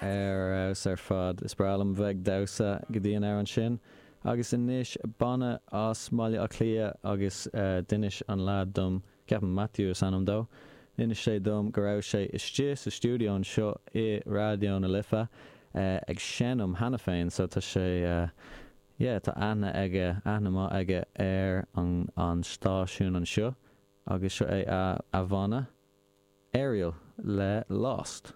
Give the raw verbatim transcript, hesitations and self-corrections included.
Ar fheabhas ar fad is breá liom bheith ag damhsa go dtí an amhrán sin. Agus anois banna as Baile Átha Cliath agus uh, d'inis an lad dom ceapaim Matthew is ainm dó. D'inis sé dom go raibh sé istigh sa stiúideo anseo i Raidió na Life uh, ag seinm cheana féin, so tá sé uh, yeah, tá aithne aige aithne maith aige ar an, an stáisiún anseo agus seo é a, a bhanna Ariel le Lost.